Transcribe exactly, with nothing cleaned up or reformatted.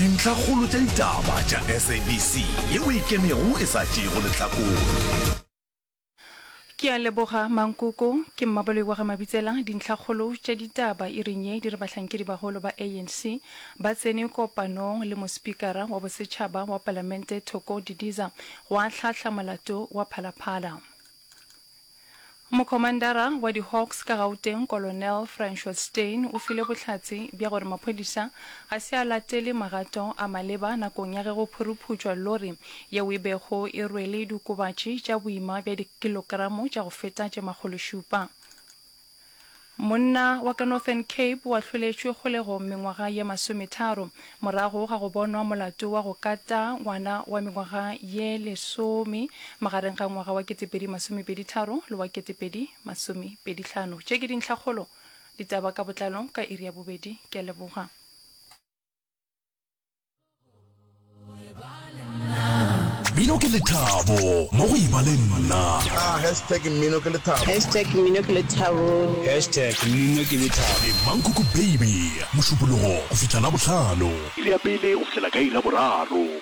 Dintlhakgolo tša ditaba tša S A B C yeo e ikemego e sa tšeego lehlakore. Ke a leboga Mankoko, ke Mmaboloi wa ga Mabitsela. Dintlhakgolo tša ditaba iring ye di re bahlankedi bagolo ba A N C ba tsene kopanong le mospikara wa bosetšhaba wa palamente Thoko Didiza go ahlahla molato wa Phalaphala. Mokhomandara wa di-Hawks ka Gauteng Colonel Francois Steyn o file bohlatse bja gore maphodisa ga se a latele magato a maleba nakong ya ge go phuruphutšwa lori yeo e bego e rwele diokobatši tša boima bja dikilokramo tša go feta tše makgološupa. Monna wa ka Northern Cape o ahloletšwe kgolegong mengwaga ye masometharo morago ga go bonwa molato wa go kata ngwana wa mengwaga ye lesome magareng ga ngwaga wa ketepedi masomepedi tharo le wa ketepedi masomepedi hlano. Tše ke dintlhakgolo, ditaba ka botlalo ka iri ya bobedi. Ke a leboga. Mmino ke lethabo mo go eba le nna. Ah, hashtag mmino ke lethabo. Hashtag mmino ke lethabo. Hashtag mmino ke lethabo. Le Mankoko Baby, Mošupologo go fihla Labohlano. Iri ya pele go fihlela ka iri ya boraro.